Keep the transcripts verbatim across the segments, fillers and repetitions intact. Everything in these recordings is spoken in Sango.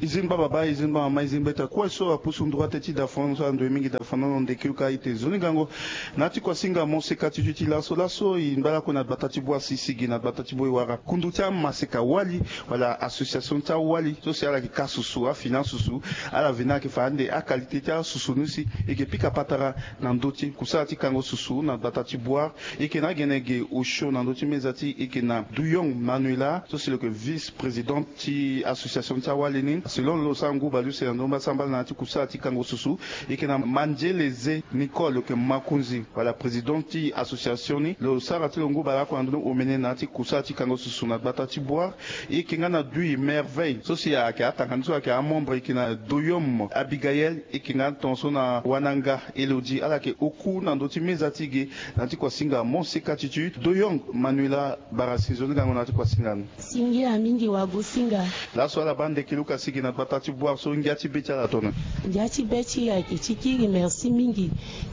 Izin baba ba, izin baba ma, izin beta kue so apusu ndroite ti da fano so ando mingi da fano na ndeke uka ite zoni gango. Na ti kuasinga mo seka ti tuti laso laso i mbala kue na gbata ti bua sisigi na gbata ti bua i wara kundu ti amaseka wali wala association ti awali so si ala yeke ka susu afinance susu. Ala veni ayeke fa ande akalite ti asusu ni si i yeke pika patara na ndö ti kusala ti kango susu na gbata ti bua. I yeke na agene ge osio na ndö ti meza ti i yeke na duyong manuela so si lo yeke vice présidente ti association ti awali ni. Selon lo sara ngu baleuse na ndö mbasambala na ya ti kusala ti kango susu. I yeke na mandiele ze nicole lo yeke makonzi wala présidente ti association ni lo sara ti lo ngu baleoko na ndö ni omene na ya ti kusala ti kango susu na gbata ti bua. I yeke nga na dui merveille so si ayeke atanga ni so ayeke amembre i yeke na doyom abigael. I yeke nga tongaso na wananga elodi ala yeke oku na ndö ti meza ti ge. Na ya ti kuasinga monseka ti tu doyong manuela barasi zo ni gango na ya ti kuasinga ni. Singia mingi wagosinga. Laso ala baa ndeke luka sigi na gbata ti boire so ngia ti be ti ala tone. Ngia ti be ti e ayeke ti kiri merci mingi.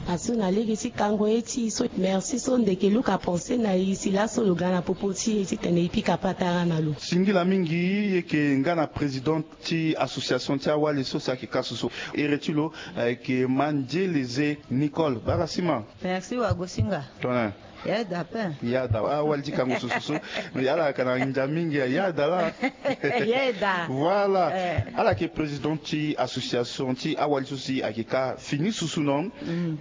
Aso na lege ti kango ye ti e so merci so ndeke luka pense na e si laso lo ga na popo ti e titene e pika patara na lo. Singila mingi. E yeke nga na président ti association ti awali so si ayeke ka susu. Ere ti lo ayeke mandiele ze nicole bara sima. Merci wagosinga. Tone. Yeda pe. Yada awali ti kango susu so. Ala yaka na ndia mingi ya yada la. Yeda. Voilà. Ala yeke président ti association ti awali so si ayeke ka fini susu non.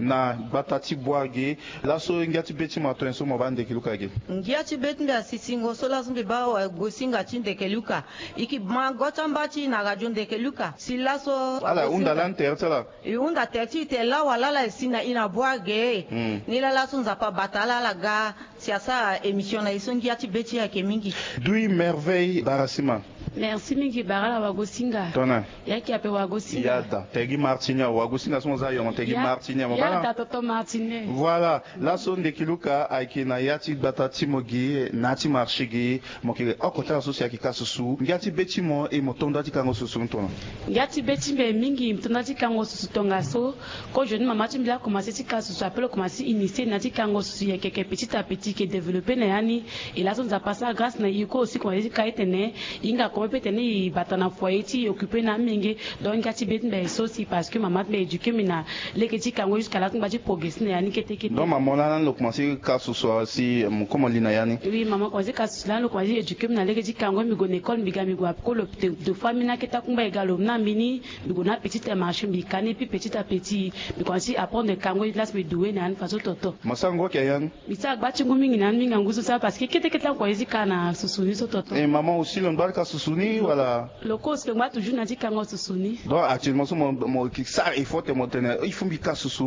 Na gbata ti boire ge. Laso ngia ti be ti mo atone so mo baa ndeke luka ge. Ngia ti be ti mbi asi singo so laso mbi baa wagosinga ti ndeke luka. I ki ma go ti amba ti i na radio ndeke luka si laso. Ala hunda lani tere ti ala. I hunda tere ti i te lawa lala e si na i na bua ge. Ni lala so nzapa bata ala ala ga si asara émission na i so ngia ti be ti i ayeke mingi. Dui merveille bara sima. Merci mingi bara ala wagosinga. Tona. Ya ki ape wagosinga. Yada tegi martinia wagosinga so mo za yongo tegi martinia mo bala. Yada toto martinia. Voilà. Laso ndeke luka ayeke na ya ti gbata ti mo gi na ya ti marché gi. Mo yeke oko ti ala so si ayeke ka susu ngia ti be ti mo e mo to nda ti kango susu ni tona. Ngia ti be ti mbi mingi mo to nda ti kango susu tongaso. Kozo ni mama ti mbi akomanse ti ka susu ape lo komanse ti initier na ya ti kango susu yeke yeke petit à petit yeke développer na ya ni. E laso nzapa asara grâce na e kue aussi komanse ti ka etene. E hinga kome pe tene e bata na foyer ti e occuper na amenge. Donc ngia ti be ti mbi aye so si parce que mama ti mbi a éduquer mbi na lege ti kango jusqu'à laso ti mbi ti progresser na ya ni kete kete. Donc mama mo lani lo komanse ka susu si mo komo li na ya ni. Oui mama komanse ka susu lani lo komanse éduquer mbi na lege ti kango mbi gue na école mbi ga mbi gue apeko lo. Deux fois mbi na akete akungba e ga lo mbi na mbi ni. Mbi gue na petit marché mbi ka ni et puis petit à petit mbi komanse ti apprendre kango ni place mbi doue na ya ni façon toto. Mo sara ngu ake ya ni. Mbi sara gba ti ngu mingi na ni mingi angu so sara parce que kete kete akua ye ti ka na susu ni so toto. E mama aussi lo ngba ti ka susu ni wala? Lo kue aussi lo ngba toujours na ti kango susu ni. Donc actuellement so mo mo ki sara effort te mo tene il faut mbi ka susu.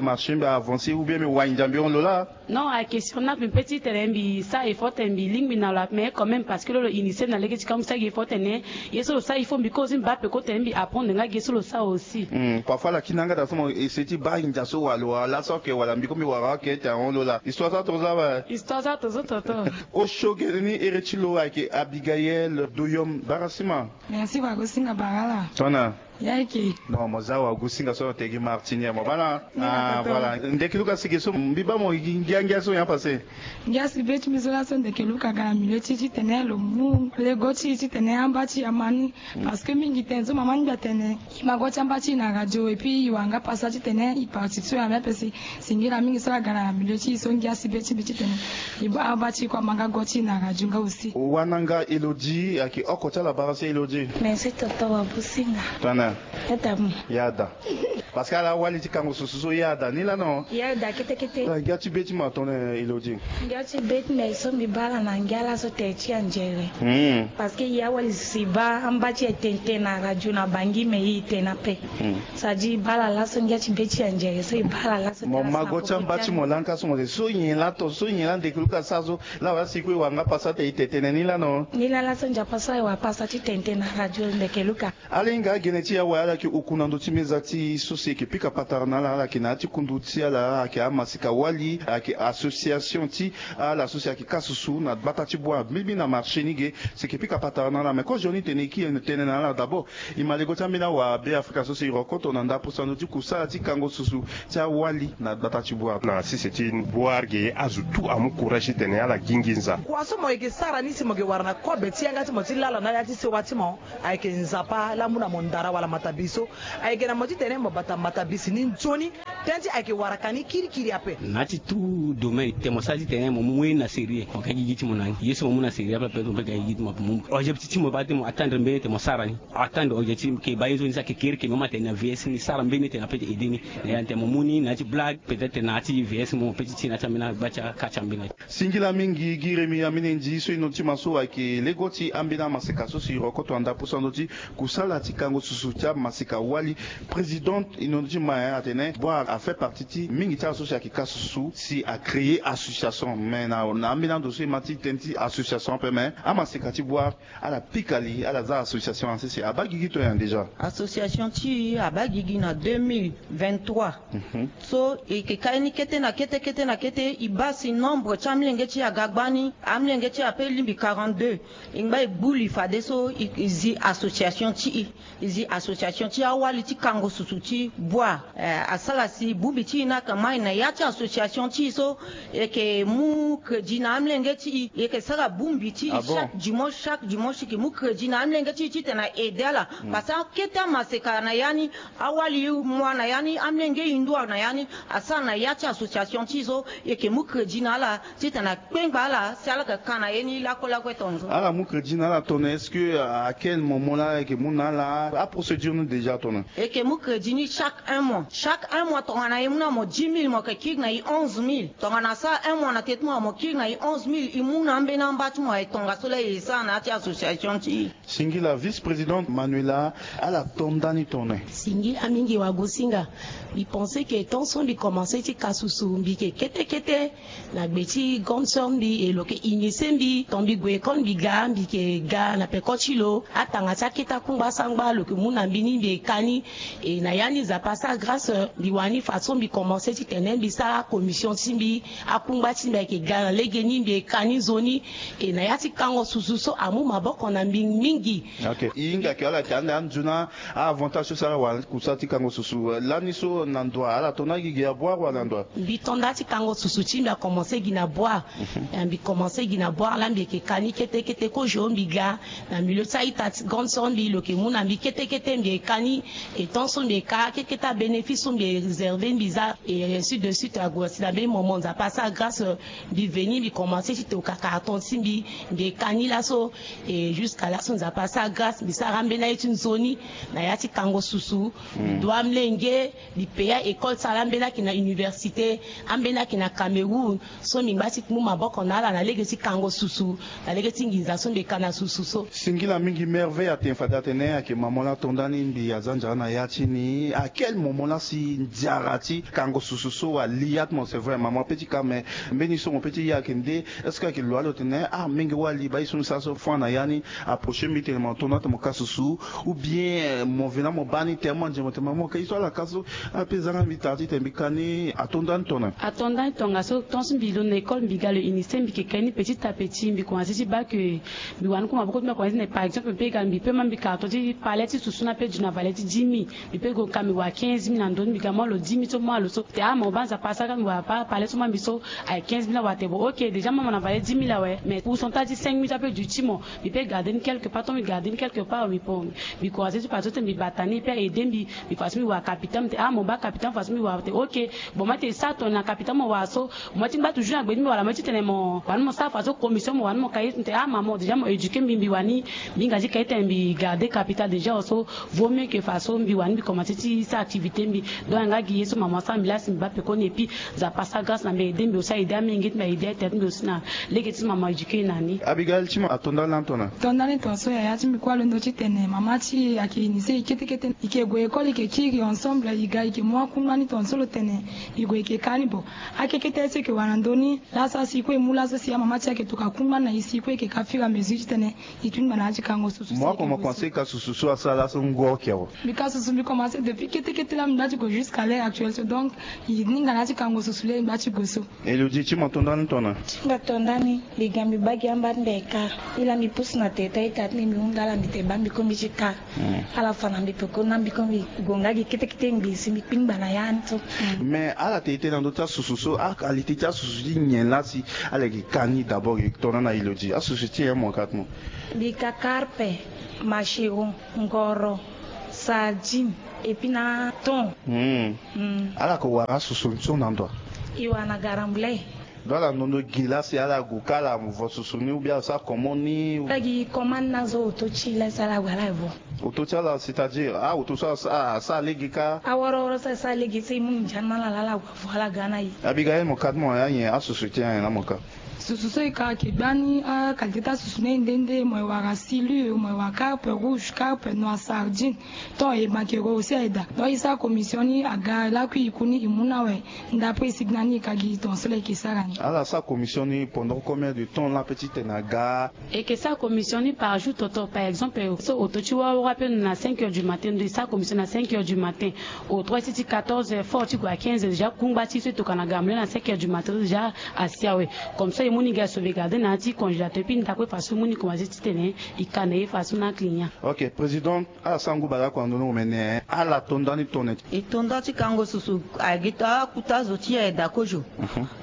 Marché mbi avancer ou bien mbi wani ndia mbi hon lo la? Non ayeke sur na mbi pe ti tene mbi sara effort tene mbi lingbi na lo ape mais quand même parce que lo lo initier mbi na lege ti kango mbi sara gi effort tene. Ye so lo sara il faut mbi kue aussi mbi baa peko tene mbi apprendre nga gi ye so lo sara aussi. Parfois lakina nga da so mo essayer ti baa ndia so wala lo wara laso ake wala mbi kue mbi wara ake ti ahon lo la histoire so ato so awe. Histoire so ato so toto. Osio gere ni ere ti lo ayeke abigael doyom bara sima. Merci wagosinga bara ala. Tona. Ya eke. Non mo za wagosinga so na tegi martinier mo bana. Voilà ndeke luka sigi so mbi baa mo ngiangia so ya pase. Ngia si be ti mbi so laso ndeke luka ga na milieu ti e titene lo mu lego ti e titene amba ti e ama ni. Parce que mingi tene so mama ni mbi atene i ma go ti amba ti e na radio et puis i wara nga pasa titene i participer na mbi ape si. Singila mingi so aga na milieu ti e so ngia si be ti mbi titene i baa amba ti e kue ama nga go ti e na radio nga aussi. Wananga elodie ayeke oko ti ala bara si elodie. Merci toto wagosinga. Tana. Yada mo. Yada. Parce que ala wali ti kango susu so yada ni lano. Yada kete kete. Ngia ti be ti mo atone elodie. Ngia ti be ti mbi so mbi baa ala na ngia laso tere ti anzere. Parce que ya wali si baa amba ti e tene tene na radio na bangi me i tene ape. Sa di i baa ala laso ngia ti be ti anzere so i baa ala laso. Mo ma go ti amba ti mo lani ka so mo te so nyen la to so nyen la ndeke luka sara so. La wala si kue wara nga pasa te i te tene ni lano. Ni la laso nzapa so aye wara pasa ti tene tene na radio ndeke luka. Ala hinga agene ti e awe ala yeke uku na ndö ti meza ti e so. Si eke pika patara na ala, ala yeke na ya ti kundu ti ala ayeke amasika wali, ayeke association ti ala so si ayeke kâ susu na gbata ti Bouar mbilimbili na marché ni ge. Si eke pika patara na ala, me kozo ni tene e kiri tënë na ala d'abord. E ma lego ti ambeni awa Beafrika so si e rokoto na ndapusando ti kusala ti kango susu ti awali na gbata ti Bouar. Na sese ti Bouar ge, azo tout amu courage titene ala gi nginza. Kua so mo yeke sara ni si mo yeke wara na kobe ti yanga ti mo ti lala na ya ti sewa ti mo, ayeke Nzapa laa amu na mo ndara wala matabisi so. Ayeke na mo titene mo bata matabisi ni nzoni. Tënë ti ayeke waraka ni kirikiri ape. Na ya ti tout domaine, tene mo sara titene mo mu ye ni na sérieux, mo ga gigi ti mo na ni. Ye so mo mu na sérieux ape, ape mo pe ga gigi ti mo ape. Mo mu objectif ti mo baa ti mo atteindre mbeni tene mo sara ni. Atteindre objectif ke baa ye so ni sara ke kiri ke mo ma tene na V S ni sara mbeni tene ape ti aidé ni. Na ya tene mo mu ni na ya ti blague, peut-être na ya ti V S mo pe ti ti na ya ti ambeni agba ti akâ ti ambeni. Singila mingi gi Rémy Amenendi so ino ti ma so ayeke lego ti ambeni amaseka so si e rokoto na ndapusando ti kusala ti kango susu ti amaseka wali. Président ino ti ma, eh, atene Bouar a fait partie ti mingi ti ala so si ayeke kâ susu si a créer association. Mais na, na ambeni ando so e ma ti tënë ti association ape, mais amaseka ti Bouar ala pika li, ala za association asese abaa gigi to nyen déjà? Association ti e abaa gigi na deux mille vingt-trois. Mhm. So e yeke kâ ye ni kete na kete, kete na kete, e baa si nombre ti amolenge ti e aga gbani, amolenge ti e ape lingbi quarante-deux. E ngba e gbu li fadeso e, e zi association ti e. E zi association ti awali ti kango susu ti Bouar. Eh, asara si bongbi ti e ni ayeke mai na ya ti association ti e so, e yeke mu crédit na amolenge ti e, e yeke sara bongbi ti e. Ah bon? Chaque dimanche, chaque dimanche e yeke mu crédit na amolenge ti e titene a aidé ala. Mm. Parce que akete amaseka na ya ni, awali mu na ya ni, amolenge hindu na ya ni, asara na ya ti association ti e so, e yeke mu crédit na ala titene akpengba ala si ala yeke ka na ye ni lakue lakue tongaso. Ala mu crédit na ala tongana, est-ce que, euh, à quel moment laa e yeke mu na ala? Aprocédure ni déjà tongana? E yeke mu crédit ni chaque un mois. Chaque un mois tongana e mu na mo dix mille, mo yeke kiri na e onze mille. Tongana asara un mois na tete ti mo, mo kiri na e onze mille, e mu na ambeni amba ti mo aye tongaso laa e sara na ya ti association ti e. Singila vice-présidente Manuela, ala to nda ni tongana? Singila mingi wagosinga. Mbi pense ke tant so mbi commencé ti ka susu, mbi yeke kete kete na gbe ti grande sœur mbi, e lo yeke initié mbi. Tant mbi gue école mbi ga, mbi yeke ga na peko ti lo. Atanga ti akete akungba sangba lo yeke mu na mbi ni, mbi yeke ka ni. E na ya ni Nzapa asara grâce, mbi wani façon mbi commencé titene mbi sara commission ti mbi, akungba ti mbi ayeke ga na lege ni, mbi yeke ka ni nzoni. E na ya ti kango susu so amu maboko na mbi mingi. Ok. E hinga ke ala yeke ande anzoni a-avantage so si ala wara kusala ti kango susu, eh, lani so na ndo wa, ala to nda gi gi na Bouar wala na ndo wa? Mbi to nda ti kango susu ti mbi akomanse gi na Bouar. Mhm. Eh, mbi komanse gi na Bouar laa mbi yeke ka ni kete kete kozo mbi ga na milieu ti a-ita ti grande sœur mbi, lo yeke mu na mbi kete kete mbi yeke ka ni. E tant so mbi yeke ka kete kete abénéfice so mbi réservé mbi za, et ainsi de suite ague si na mbeni moment Nzapa asara grâce, mbi veni mbi komanse ti toka carton ti mbi, mbi yeke ka ni laso. Et jusqu'à laso Nzapa asara grâce mbi sara ambeni aye ti nzoni na ya ti kango susu. Mm. Mbi dua amolenge, mbi paya école ti ala, ambeni ayeke na université, ambeni ayeke na Cameroun. So mbi ngba ti mu maboko na ala na lege ti kango susu, na lege ti nginza so mbi yeke ka na susu so. Singila mingi. Merveille atene fade atene ayeke maman laa to nda ni, mbi aza nzara na ya ti ni. À quel moment laa si nzara ti kango susu so ali ya ti mo? C'est vrai maman pe ti ka, mais mbeni so mo pe ti ya ayeke nde. Est-ce que ayeke lo alo tene ah mingi wali baa ye so ni sara so fon na ya ni approché mbi tene mo to nda ti mo ka susu, ou bien, eh, mo vena mo baa ni tene mo nze mo tene mo ka ye so ala ka so? Ape zanga mbi tara titene mbi ka ni. Ato nda ni tongana? Ato nda ni tongaso, tant so mbi londo na école mbi ga lo initié mbi yeke ka ye ni petit à petit, mbi komanse ti baa ke mbi wani ku maboko ti mbi akomanse titene par exemple mbi pe ga mbi pe ma mbi carton ti palais ti susu ni ape du na valeur ti dix mille. Mbi pe gue ka mbi wara quinze mille na ndo ni, mbi ga mo lo dix mille so mo lo so. Tene ah mo baa Nzapa asara mbi wara pa palais so mo mbi so. Aye quinze mille awara tene bon ok déjà mo mo na valeur dix mille awe, mais pourcentage ti cinq mille so ape du ti mo. Mbi pe garder ni quelque part, tant mbi garder ni quelque part mbi pon. Mbi komanse ti passe so tene mbi bata ni e pe aidé mbi. Mbi façon mbi wara capital, mbi tene ah mo baa capital façon mbi wara tene ok. Bon mo tene sara tongana capital mo wara so, mo ti ngba toujours na gbe ti mbi wala mo ti tene mo wani mo sara façon commission mo wani mo ka ye, mbi tene ah maman déjà mo éduqué mbi, mbi wani mbi hinga ti ka ye tene mbi garder capital déjà so. Vaut mieux que façon mbi wani mbi komanse ti sara activité mbi. Donc nga Ye so mama asara mbi laa si mbi baa pekoni, et puis Nzapa asara grâce na mbi, aide mbi aussi, aide amenge ti mbi, aide aita ti mbi aussi na lege ti mama éduqué na ni. Abigail, ti mo atonda lani tongana? Tonda ni tongaso yaya ti mbi kue, alondo titene mama ti e ayeke initié e kete kete, e yeke gue école, e yeke kiri ensemble, e ga e yeke mu akungba ni tongaso lo tene e gue e yeke ka ni. Bon, akekete so e yeke wara na ndö ni laa, so asi e kue e mu laso si amama ti e ayeke tokua kungba ni na e, si e kue e yeke ka fur et à mesure titene e tu ni ngbana ya ti kango susu. Mo oko mo komanse ka susu so asara laso ngo oko awe? Mbi ka susu, mbi komanse depuis kete kete laa mbi dua ti gue jusqu'à l'heure actuelle so, donc e ni ngbana ya ti kango susu laa mbi dua ti gue so. Elodie, ti mo atonda ni tongana? Ti mbi atonda ni. Mbi ga mbi baa gi amba ti mbi aye kar. Mbi laa mbi pusu na tere ti aita ti mbi, mbi hunda ala, mbi tene baa mbi kue mbi ti kar. Ala fa na mbi peko na mbi kue mbi gue nga gi kete kete ngbii si mbi kpingba na ya ni so. Mais ala tene tene na ndö ti asusu so, aqualité ti asusu ti nyen laa si ala yeke ka ni d'abord? E tongana na Elodie, asusu ti nyen mo ka ti mo? Mbi ka karpe, machiron, ngoro, sardine, et puis na thon. Ala yeke wara asusu ni so na ndo? E wara na garambulai. Donc ala ndondo gi laa si ala gue ka ala vo susu ni ou bien ala sara comment ni? Ala gi comment ni na zo oto ti e laa si ala gue ala vo. Oto ti ala, c'est-à-dire a oto so asara lege ka? Aworo woro so asara lege so e mu nginza ni na ala laa ala gue avo ala ga na e. Abigail, mo ka ti mo anyen asusu ti anyen laa mo ka? Susu so e ka ayeke gbani, aqualité ti asusu ni nde nde, mo e wara silure, mo e wara carpe rouge, carpe noir, sardine. Thon, e banquero aussi aye daa. Donc e sara commission ni aga lakui e ku ni e mu ni awe. Ndapre e sigi na ni e ka gi tongaso laa e yeke sara ni. Ala sara commission ni pendant combien de temps laa pe titene aga? E yeke sara commission ni par jour toto. Par exemple, so oto ti wawara pe na cinq heures du matin, ndo e sara commission na cinq heures du matin. Oto ti ti quatorze heures fort ti gue à quinze heures déjà, kungba ti e so e tokua na garambulai na cinq heures du matin déjà asi awe. Comme ça e mu ni ga e sauvegarder na ya ti congélateur, puis ndapre façon e mu ni commencer titene e ka na e façon na aclient. Ok, président. Ala sara ngu bale oko na ndö ni omene. Ala tonda ni tongana? E tonda ti kango susu. Agi ti akuta zo ti e aye daa kozo.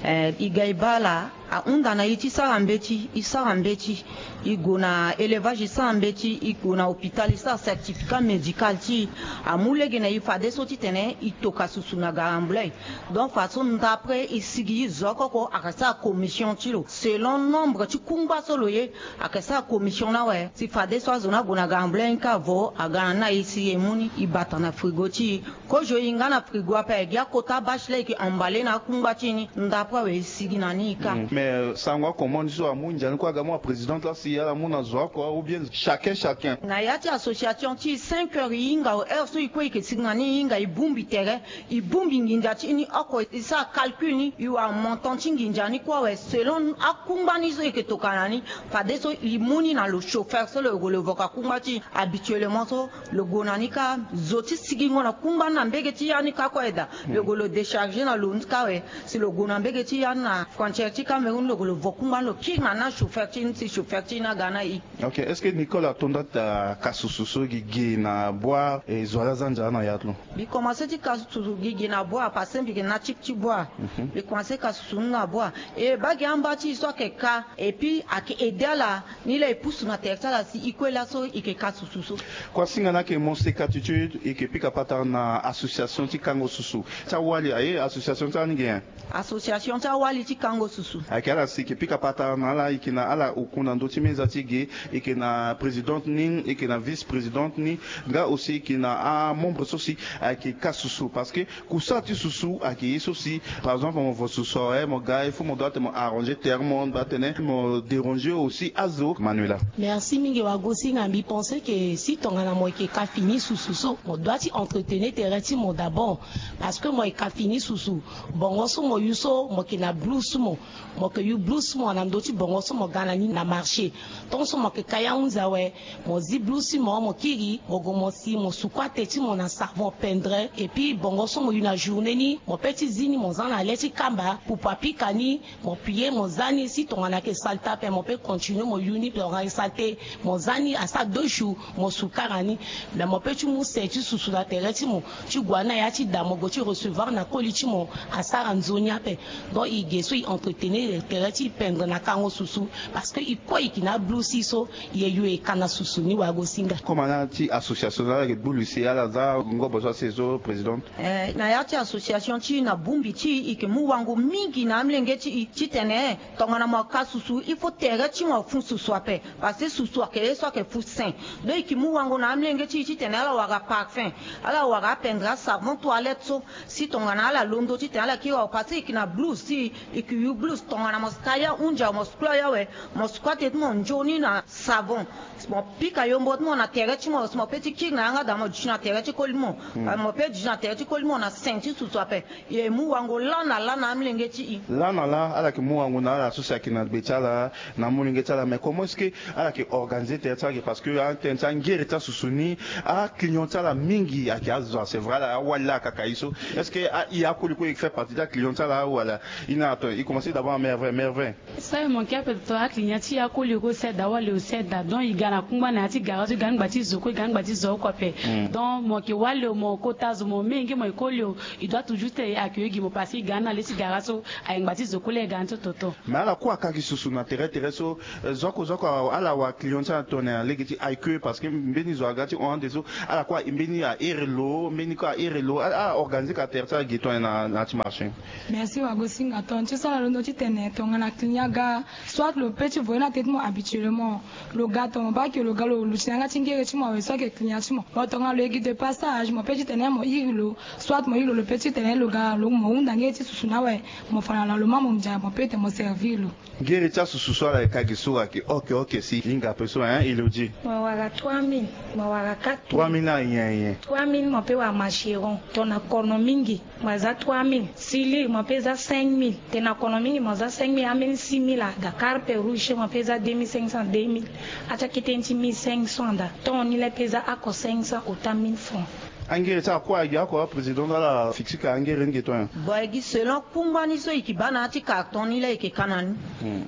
Eh, e ga e baa ala ahunda na e ti sara mbeti, e sara mbeti. E gue na élevage, e sara mbeti. E gue na hôpital, e sara certificat médical ti e. Amu lege na e fadeso titene e tokua susu na garambulai. Donc façon ndapre e sigi zo oko oko ayeke sara commission ti lo selon nombre ti kungba so lo ye. Ayeke sara commission ni awe si fadeso azo ni ague na garambulai ni kâ avo aga na ni aye si e mu ni e bata na frigo ti e. Kozo e nga na frigo ape, e gi akota bâche laa e yeke emballé na akungba ti e ni, ndapre awe e sigi na ni e kâ. Mais sango akomandi so amu ndia ni kue aga mu aprésidente laa si ala mu na zo oko ou bien chacun chacun? Na ya ti association ti e cinq heures e hinga awe, heure so e kue e yeke sigi na ni e hinga e bongbi tere. E bongbi nginza ti e ni oko, e sara calcul ni, e wara montant ti nginza ni kue awe selon akungba ni so e yeke tokua na ni. Fadeso e mu ni na lo chauffeur so lo gue lo vo kua kungba ti e habituellement so lo gue na ni kâ. Zo ti sigingo na kungba ni na mbege ti ya ni kâ kue aye daa. Lo gue lo décharger na lo ni kâ awe. Si lo gue na mbege ti ya ni na frontière ti Cameroun lo gue lo vo kungba ni lo kiri na ni na chauffeur ti e ni si chauffeur ti e ni aga na e. Ok, est-ce que Nicole atonda ti ka susu so gigi na boi, e zo ala za nzara na ya ti lo? Mbi komanse ti ka susu gigi na boi parce que mbi yeke na type ti boi. Mbi komanse ka susu ni na boi. E baa gi amba ti e so ayeke ka, et puis ayeke aider ala ni laa e pusu na tere ti ala si e kue laso e yeke ka susu so. Kuasinga ni ayeke mo seka ti ti e yeke pika patara na association ti kango susu ti awali aye, association ti ala ni ge nyen? Association ti awali ti kango susu. Ayeke ala si e yeke pika patara na ala, e yeke na ala oku na ndö ti meza ti e ge. E yeke na présidente ni, e yeke na vice-présidente ni, nga aussi e yeke na amembre so si ayeke ka susu. Parce que kusala ti susu ayeke ye so si, par exemple, mo vo susu awe, mo ga, il faut mo doit ti mo arranger terrain, mo doit tene mo déranger aussi azo. Manuela. Merci mingi wagosinga. Mbi pense que si tongana mo yeke ka fini susu so, mo doit ti entretenir terrain ti mo d'abord. Parce que mo yeke ka fini susu, bongo so mo yu so mo yeke na blu so mo Mo yeke yu blu so mo na ndö ti bongo so mo ga na ni na marché. Tant so mo yeke ka ya hunzi awe, mo zi blu so mo, mo kiri, mo gue mo si, mo suku ate ti mo na savon pendre. Et puis bongo so mo yu na journée ni, mo pe ti zi ni, mo za na le ti kamba, pupu apika ni, mo pie, mo za ni. Si tongana ayeke saleté ape, mo pe continuer mo yu ni, tongana ayeke saleté, mo za ni, asara deux jours, mo sukara ni. Mais mo pe ti mu se ti susu na tere ti mo, ti gue na ya ti da, mo gue ti recevoir na koli ti mo, asara nzoni ape. Donc e ge so e entretenir Tere ti e pendre na kango susu, parce que e kue e yeke na ablouse so e ye yo e ka na susu ni. Wagosinga. Comme ala ti association so ala yeke bulu si ala za ngobo so asi e so présidente. Eh, na ya ti association ti e na bongbi ti e, e yeke mu wango mingi na amolenge ti e titene tongana mo ka susu, il faut tere ti mo afu susu ape. Parce que susu ayeke ye so ayeke fu saint. Donc e yeke mu wango na amolenge ti e titene ala wara parfum, ala wara apendre asavon toilette so. Si tongana ala londo titene ala kiri wara, parce que e yeke na blouse ti e, e yeke yu blouse, tongana mo si ka ya hunzi awe, mo si klo ya awe, mo si kue atene ti mo nzoni na savon. Si mo pika yombo ti mo na tere ti mo, si mo pe ti kiri na yanga daa, mo duti na tere ti koli ti mo. Mo pe duti na tere ti koli ti mo na saint ti susu ape. E mu wango laa na laa na amolenge ti e. Laa na laa ala yeke mu wango na ala so si ayeke na gbe ti ala, na amolenge ti ala. Mais comment est-ce que ala yeke organiser tere ti ala ge? Parce que atene ti angere ti asusu ni, aclient ti ala mingi ayeke azo. C'est vrai, ala awali laa akaka e so. Est-ce que a, e akoli kue e fait partie ti aclient ti ala wala? E na ato, e commencer d'abord na Merve. Merve. Sara mo yeke ape, to aclient ti e akoli kue, seda wali o seda. Donc e ga na kungba na ya ti gara so, e ga na ngba ti zo kue, e ga na ngba ti zo oko ape. Donc mo yeke wali o, mo kota zo, mo menge, mo yeke koli o, e doit toujours ti e accueillir gi mo, parce que e ga na le ti gara so, ayeke ngba ti zo kue laa e ga na ti toto. Mais ala kue aka gi susu na tere tere so. Eh, zo oko zo oko ala wara client ti ala tongana na lege ti accueil, parce que mbeni zo aga ti hon ande so, ala kue mbeni ahere lo, mbeni kue ahere lo, ala organiser ka tere ti ala gi tongana na, na ti marché. Merci Wagosinga. Tongana ti so ala londo titene tongana client aga, soit lo pe ti voye na tete mo habituellement. Lo ga tongana mo baa ke lo ga, lo luti na yanga ti ngere ti mo awe, so ayeke client ti mo. Mo tongana lo ye gi de passage, mo pe titene mo iri lo, soit mo iri lo, lo pe titene lo ga, lo mo hunda ngere ti susu ni awe, mo fa na lalo ma mo ndia, mo pe tene mo servir lo. Ngere ti asusu so ala yeke ka gi so ayeke oke oke si. Hinga ape so, hein, Elodie? Mo wara trois mille, mo wara quatre mille. Trois mille na nyen nyen? Trois mille mo pe wara macheron, tongana kono mingi. Mo za trois mille. Sili mo pe za cinq mille. Tena kono mingi mo za cinq mille, ambeni six mille ada. Carpe rouge mo pe za deux mille cinq cents, deux mille. Ati akete ni ti mille cinq cents ada. Ton ni le pe za oko cinq cents ota mille francs. Angere ti akua agi oko, président, ala fixer ka angere ni ge ton ya. Bon, agi selon kungba ni so e ke baa na ya ti carton ni la e ke ka na ni.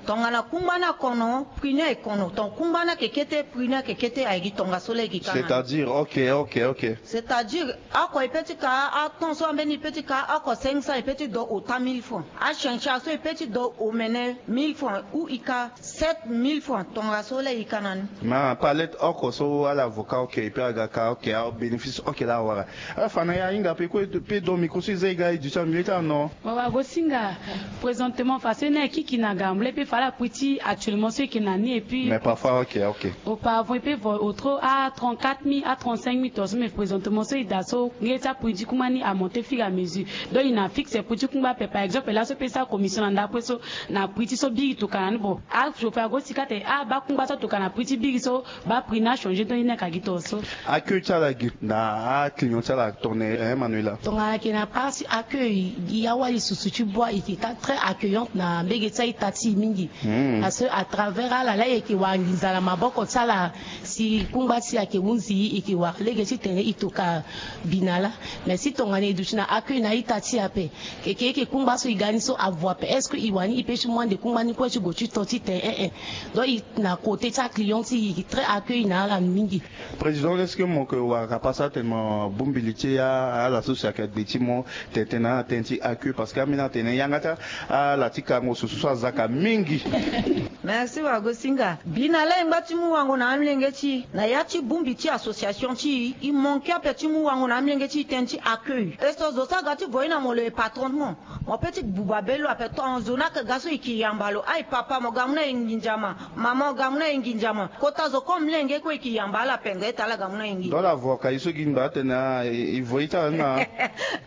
Tongana kungba ni akono, prix ni aye kono. Tongana kungba ni ayeke kete, prix ni ayeke kete, aye gi tongaso la e ke ka na ni. C'est-à-dire, ok, ok, ok. C'est-à-dire, oko e pe ti ka, aton so ambeni e pe ti ka, oko cinq cents e pe ti do ota mille francs. Achencha so e pe ti do omene mille francs ou e ka sept mille francs, tongaso la e ka na ni. Ma palette oko so ala avocat, ok, e pe aga ka, ok, abénéfice, ok, la awara. Ala fa na ya ahinga pe kue, pe do micro so e za e ga e duti na milieu ti ala, non? Wagosinga, présentement, façon ni ayeke kiki na ga, mble pe fa ala prix ti actuellement so e yeke na ni, et puis. Mais parfois, ok, ok. Auparavant e pe vo au trop à trente-quatre mille, à trente-cinq mille tongaso, mais présentement so e daa so, nge ti aprix ti kungba ni amonte fur et à mesure. Donc e na fixe prix ti kungba ape. Par exemple laso e pe sara commission na ndapre so, na prix ti so biri tokana ni. Bon, achauffer ago si ka tene abaa kungba so atokana na prix ti biri so, baa prix ni achanger. Donc e ni ayeke gi tongaso. Accueil ti ala gi na aclient ti ala tongana, eh, Manuela? Tongana ayeke na part ti accueil, e awali susu ti bua, e yeke ka très accueillante na mbege ti a-ita ti e mingi. Parce que à travers ala la e yeke wara nginza na maboko ti ala, si kungba ti e ayeke hunzi e, e yeke wara lege titene e tokua bina laa. Mais si tongana e duti na accueil na a-ita ti e ape, keke e yeke kungba so e ga ni so avo ape, est-ce que e wani e pe ti mu ande kungba ni kue ti gue ti to titene, eh, eh. Donc e na côté ti aclient ti e, e yeke très accueil na ala mingi. Président, est-ce que mo yeke wara ka pasa tene mo bongbi li ti e, ala so si ayeke agbe ti mo, tene tene na ala tënë ti accueil, parce que ambeni atene yanga ti ala ti kango susu so aza ka mingi. Merci Wagosinga. Bina la e ngba ti mu wango na amolenge ti e na ya ti bongbi ti association ti e, e manqué ape ti mu wango na amolenge ti e tënë ti accueil. E so zo so aga ti voye na mo lo e patron ti mo. Mo pe ti buba be lo ape. Tongana zo ni ayeke ga so e ke yamba lo: ai papa, mo ga mu na e nginza ma. Mama, mo ga mu na e nginza ma. Kota zo comme lenge kue e ke yamba ala pendere ti ala ga mu na e nginza. Donc ala vo ka e so gi ngba atene, ah, e, e vo e ti ala ni na.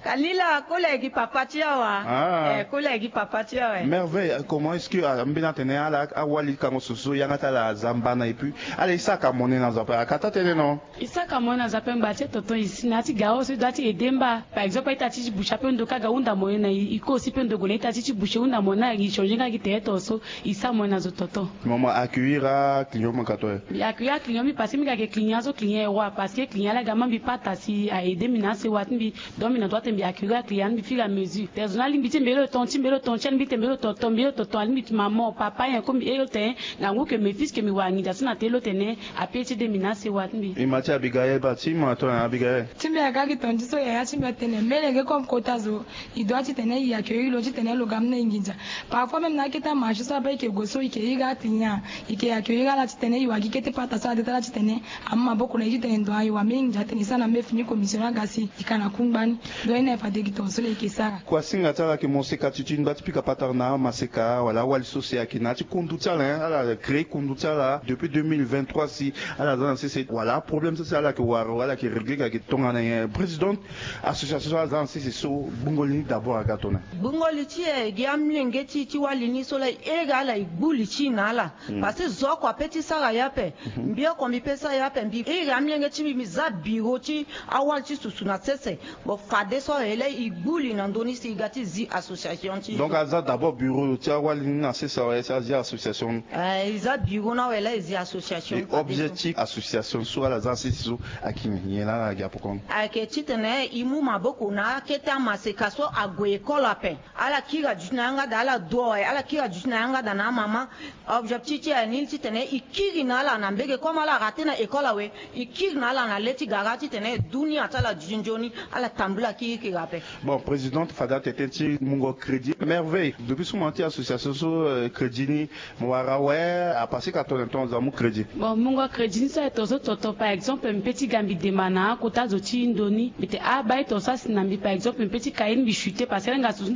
Ka ni la, kola e gi papa ti awa. Ah. Eh, kola e gi papa ti awa. Merveille, comment est-ce que, ah, ambeni atene ala awali kango susu so yanga ti ala aza mbana, et puis ala e sara ka mone na zo ape, aka taa tënë, non? E sara ka mone na zo ape ngba ti e tonton, e si na ya ti garaso e doit ti aidé mba. Par exemple a-ita ti ti boucher ape ndo ka ga hunda mone na e, e kosi pe ndo gue na a-ita ti ti boucher hunda mone na e, e changer nga gi tere tongaso. E sara mone na zo tonton. Mo mo accueillir aclient mo ka to e? E accueillir aclient mingi parce que mingi ayeke client so Client e roi parce que client ala ga ma mbi pata si a aide mbi na asewa ti mbi. Donc mbi na droit ti mbi accueillir aclient ti mbi fur et à mesure. Personne alingbi ti mbi lo ton ti mbi lo ton ti alingbi ti mbi lo ton ton mbi lo ton ton alingbi ti maman papa nyen ko mbi e lo tene. Ngangu ke mbi fils ke mbi wara nginza so na te lo tene. Ape ti aide mbi na asewa ti mbi. E ma ti Abigaël ba ti ma tongana Abigaël. Ti mbi aga gi ton ti so yaya ti mbi atene melenge comme kota zo. I doit titene i accueillir lo titene lo ga mu na i nginza. Parfois même na akete amarché so ape i ke gue so i ke iri aclient. I ke accueillir ala titene i wara gi kete pata so ade ti ala titene amu maboko na i titene ndo ayo wa me nginza tene i sara na me fini commission aga si i ka na kungba ni. Donc i na e fade gi tongaso le i ke sara. Kuasinga ti ala ke mo seka ti tini ba ti pika patara na amaseka wala awali so si ayeke na ya ti kundu ti ala hein ala créer kundu ti ala depuis deux mille vingt-trois si ala za na sese wala aproblème so si ala yeke wara wala ala yeke régler ka yeke tongana nyen président association so ala za na sese so gbungo li ni d'abord aga tongana. Gbungo li ti e gi amilenge ti e ti wali ni so la e iri ala e gbu li ti e na ala. Parce que zo oko ape ti sara ye ape. Mbi oko mbi pe sara ye ape mbi iri amilenge ti mbi mbi za biro ti awali ti susu na sese. Bon fadeso awe la e gbu li na ndö ni si e ga ti zi association ti e. Donc aza d'abord biro ti awali ni na sese awe si azi association ni. Eh, e za biro ni awe la e zi association. E objectif association so ala za na sese so ayeke nyen la ala gi apokoni? Ayeke titene e mu maboko na akete amaseka so ague école ape. Ala kiri aduti na yanga daa ala du awe ala kiri aduti na yanga daa na amama. Objectif ti aye ni titene e kiri na ala na mbege comme ala rate na école awe. E kiri na ala na le ti gara titene dunia ti ala duti nzoni. Ala tambula kirikiri ape. Bon présidente fade atete ti mungo crédit merveille depuis so mo na ti association so crédit ni mo wara awe. Apasika tongana tongana zo amu crédit. Bon mungo crédit ni so aye tongaso toto par exemple mbi pe ti ga mbi dema na akota zo ti ndo ni mbi tene ah baa e tongaso asi na mbi par exemple mbi pe ti ka ye ni mbi chuter parce que ala hinga susu ni.